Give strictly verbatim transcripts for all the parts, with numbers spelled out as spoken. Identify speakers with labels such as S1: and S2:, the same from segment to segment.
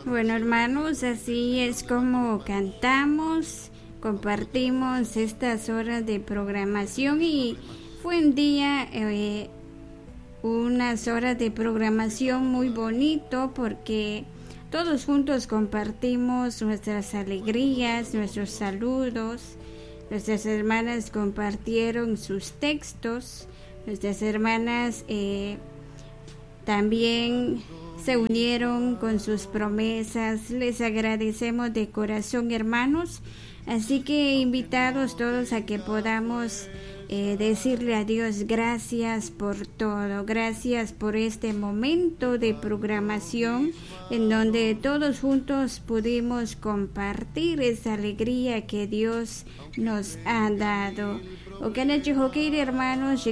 S1: Bueno, hermanos, así es como cantamos, compartimos estas horas de programación y fue un día, eh, unas horas de programación muy bonito porque todos juntos compartimos nuestras alegrías, nuestros saludos. Nuestras hermanas compartieron sus textos, nuestras hermanas eh, también se unieron con sus promesas. Les agradecemos de corazón, hermanos. Así que invitados todos a que podamos eh, decirle a Dios gracias por todo, gracias por este momento de programación en donde todos juntos pudimos compartir esa alegría que Dios nos ha dado. Hermanos,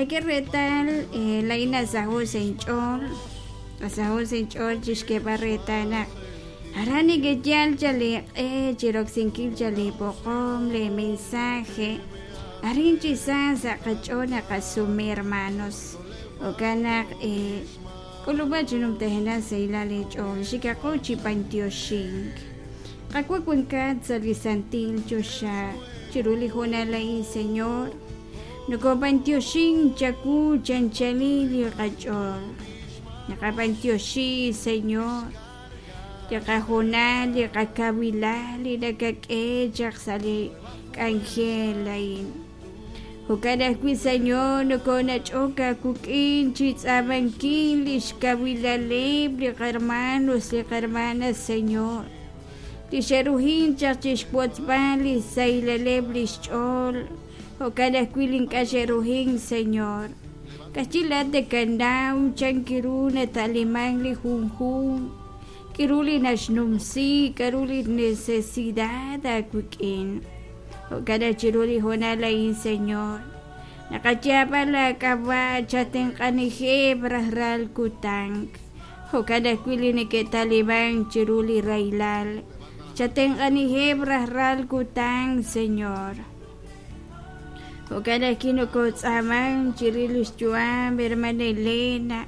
S1: que retal laina sahu senchol sahu senchol chishkebarretana arani que yal chale eh chiroxinkil chale poqom le mensaje arin chisa saqachona qasumi hermanos okanak eh kuluba chinum tehena seila le chol shikaqo chipantioshink qakuakunkat salisantil chosha chiruli junalain señor Nukopantioxin chaku chanchalili qach'ol Naqapantioxi señor Yaqajunali qakawilali nakak'echaq sali k'anjelain Jukanajwi señor nukonach'oka kuk'in chitz'amankin lixkawilaleb liqhermanos liqhermanas señor Lixerujin chaq chixpuatzpan lisaylaleb lixch'ol Okanasquilin kasherujin, Señor. Kachilat de kanau, chankiruna talimán li junjun. Kiruli nashnumsi, karuli necesidad akuikin. Okanachiruli jonalain, Señor. Nakachapa la kawa chatenkanije brahral kutank. Okanasquilin que talibán chiruli railal. Chatenkanije brahral kutank, Señor. Okanakino kotzaman, chirilis chuam, hermana Elena.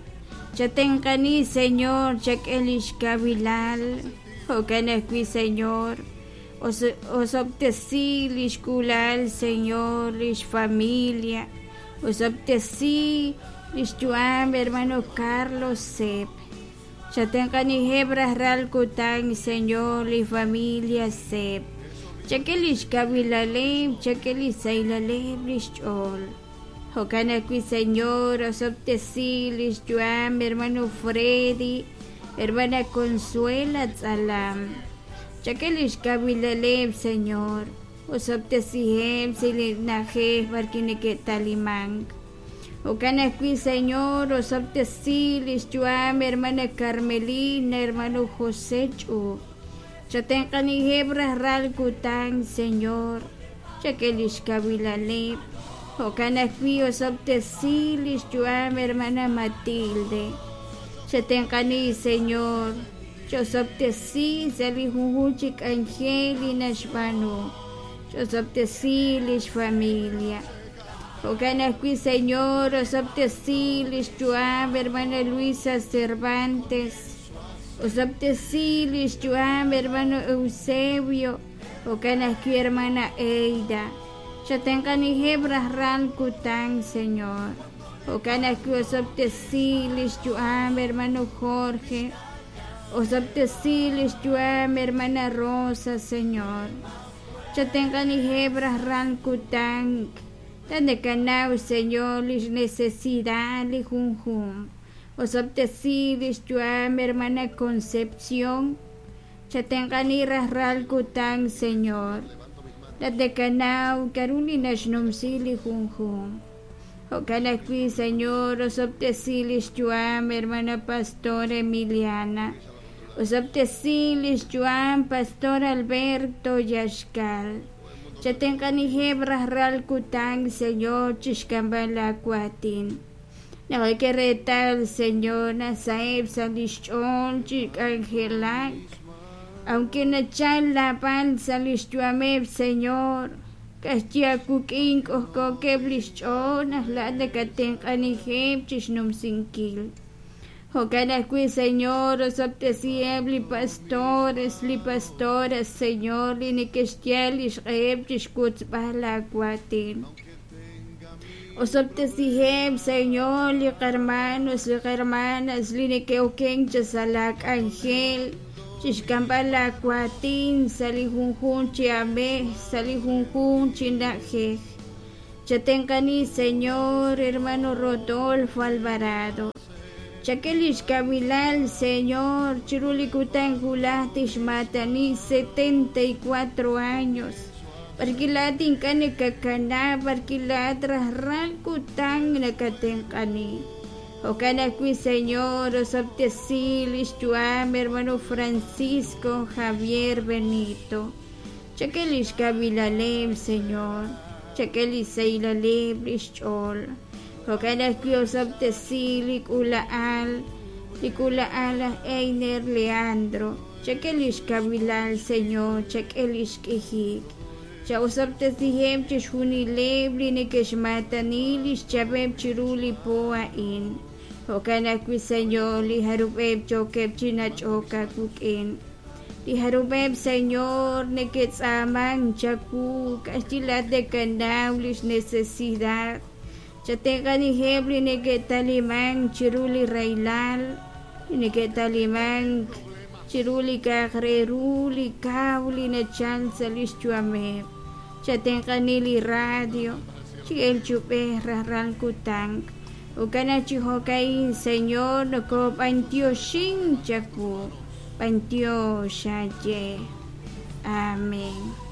S1: Chatenkani, Señor, chakelish kabilal. Okanakui, Señor. Osoptesi, lishkulal, Señor, lish familia. Osoptesi, lish chuam, hermano Carlos Sep. Chatenkani hebras ral kutan, Señor, li familia Sep. Chakelish kawilaleb, chakelis sailaleb lishchol. Jokanakui Señor, osoptesi lishchuam, hermano Freddy, hermana Consuela Tzalam. Chakelish kawilaleb, Señor, osoptesihem, silinaje, barkineke talimang. Jokanakui Señor, osoptesi lishchuam, hermana Carmelina, hermano José Chu. Chatenkani hebras ral kutan, Señor. Chakelish kawilaleb. Jokanakui osoptesi lishchuam, hermana Matilde. Chatenkani, Señor. Chosoptesi salijujuchik angelina shbanu. Chosoptesi lish familia. Jokanakui, Señor, osoptesi lishchuam, hermana Luisa Cervantes. Osoptesi lishchuam, hermano Eusebio. Jokanakui, hermana Eida. Chatenkani hebras ral kutan, Señor. Jokanakui osoptesi lishchuam, hermano Jorge. Osoptesi lishchuam, hermana Rosa, Señor. Chatenkani hebras ral kutan. Tandekanau, Señor, lish necesidad, li junjun. Osoptesi lishchuam, hermana Concepción. Chatenkani ral kutan, Señor. Tatekanau, karuni nashnumsi li junjun. Jokanakui, Señor, osoptesi lishchuam, hermana Pastora Emiliana. Osoptesi lishchuam, Pastor Alberto Yashkal. Chatenkani hebras ral kutan, Señor, chishkambala kuatin. No que retal, Señor, nasaeb salishchol, chikangelak. Aunque nachal la pal salishchuameb, Señor. K'axyi awuk'in k'ojk'ookeb' li xch'ool naq laa'at nakatenq'anijeb' chixnumsinkil. Jo'kan ajwi', Señor, osob'tesiheb' li pastores, li pastoras, Señor, li neke'xyal li xq'eheb' chixwotzb'al laawaatin. Osob'tesiheb', Señor, li qarmanos, li qarmanas, li neke'okenk cha sa' laak'anjel, chixk'amb'al laawaatin sa' li junjunq chi aamej, sa' li junjunq chi na'ajej. Chatenq'ani, Señor, hermano Rodolfo Alvarado. Chak'e li xkawilal, Señor, chiru li kutan wulaj tixmaatani setenta y cuatro años. B'arwi' laa'at ink'a' nakakanab', b'arwi' laa'at rajlal kutan nakatenq'ani. Jo'kan ajwi', Señor, osob'tesi li xyu'am hermano Francisco Javier Benito. Chak'e li xkawilaleb', Señor. Chak'e li saylaleb' li xch'ool. Jo'kan ajwi' osob'tesi li k'uula'al, li k'uula'al aj Einer Leandro. Chak'e li xkawilal, Señor, chak'e li xk'ijik. Cha'osob'tesiheb' chixjunileb' li neke'xmaatani li xchab'eb' chiru li po a'in. Jo'kan ajwi', Señor, li jarub'eb' yookeb' chi nach'ok aawik'in. Li jarub'eb', Señor, neke'tz'aamank chawu, k'axyi laa'at nakanaw li xnecesidad. Chatenq'anijeb' li neke'talimank chiru li rahilal, li neke'talimank chiru li k'a'aq re ru li kaw li nachal sa' li xyu'ameb'. Chatenq'ani li radio, chi el chub'ej rajlal kutan. Jo'kan chi jo'ka'in, Señor, nokob'antioxin chawu, b'antiox aye. Amén.